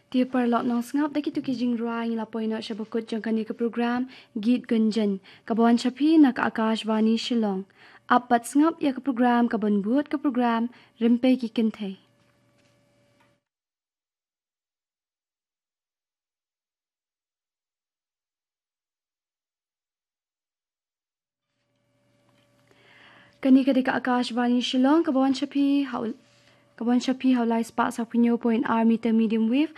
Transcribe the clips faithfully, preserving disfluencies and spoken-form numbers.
Te paralok nongsngap, da kitu ki jingrwai ngi la poi noh sha ba kut jong kane ka program Geet Gunjan kaba wan sha phi na ka Akashvani Shillong. Ap bad sngap ïa ka program kaban bud, ka program Rympei ki Kynthei. Kane ka dei ka Akashvani Shillong kaba wan sha phi ha u-, kaba wan sha phi ha u lai spah sawphew hynñiew point ar meter medium wave,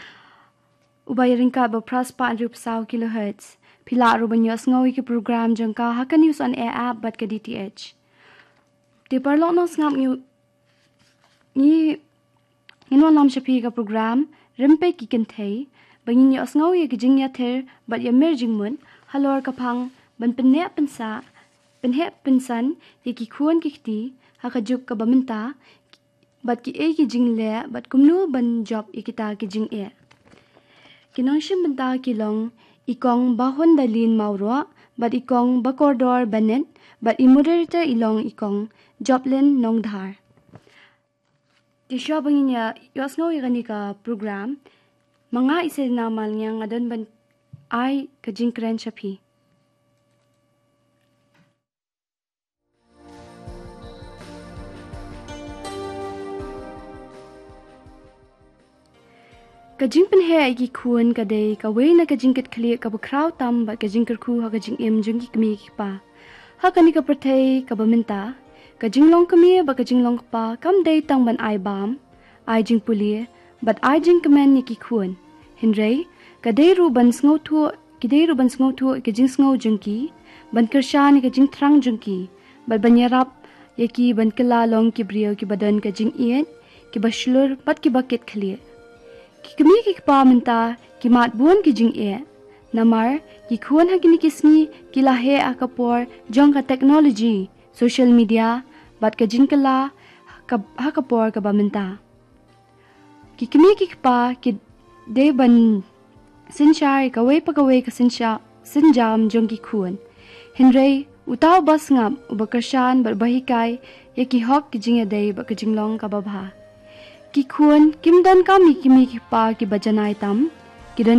uba ïaryngkat bad phra spah hynriewphew saw kilohertz. Phi lah ruh ban ïohsngew ïa ki program jong ka ha ka News on Air app bad ka D T H. Te paralok nongsngap, ngi, ngi, ngin wanlam sha phi ka program Rympei ki Kynthei, ba ngin ïohsngew ïa ki jingïathir bad ïamir jingmut halor ka phang ban pyneh pynsah, pynheh pynsan ïa ki khun ki kti ha ka juk kaba mynta, bad kiei ki jingleh bad kumno ban jop ïa kita ki jingeh. Ki nongshim bynta ki long i Kong Bahondalin Mawroh bad i Kong Bakordor Bennett, bad i moderator i long i Kong Joplin Nongdhar. Te shuwa ba ngin ïa ïohsngew ïa kane ka program, ma nga i Selina Malngiang nga don ban ai ka jingkren sha phi. Ka jingpynheh ïa ki khun ka dei kawei na ka jingkitkhlieh kaba khraw tam bad ka jingkyrkhu ha ka jingim jong ki kmie ki kpa. Ha kane ka pyrthei kaba mynta, ka jinglong kmie bad ka jinglong kpa kam dei tang ban ai bam, ai jingpule bad ai jingkmen ïa ki khun. Hynrei ka dei ruh ban sngewthuh, ki dei ruh ban sngewthuh ïa ka jingsngew jong ki, ban kyrshan ïa ka jingthrang jong ki, bad ban ïarap ïa ki ban kylla long ki briew kiba don ka jingïeit, kiba shlur bad kiba kitkhlieh. Ki kmie ki kpa mynta ki mad bun ki jingeh. Namar ki khun ha kine ki sngi ki la heh ha ka por jong ka technology, social media, bad ka jingkylla ha ka, ha ka por kaba mynta. Ki kmie ki kpa ki dei ban synshar ïa kawei pa kawei ka synsha-, synjam jong ki khun. Hynrei uta uba sngap, uba kyrshan bad uba hikai ïa ki hok, ki jingïadei bad ka jinglong kaba bha. Ki khun kim donkam ïa ki kmie ki kpa kiba janai tam,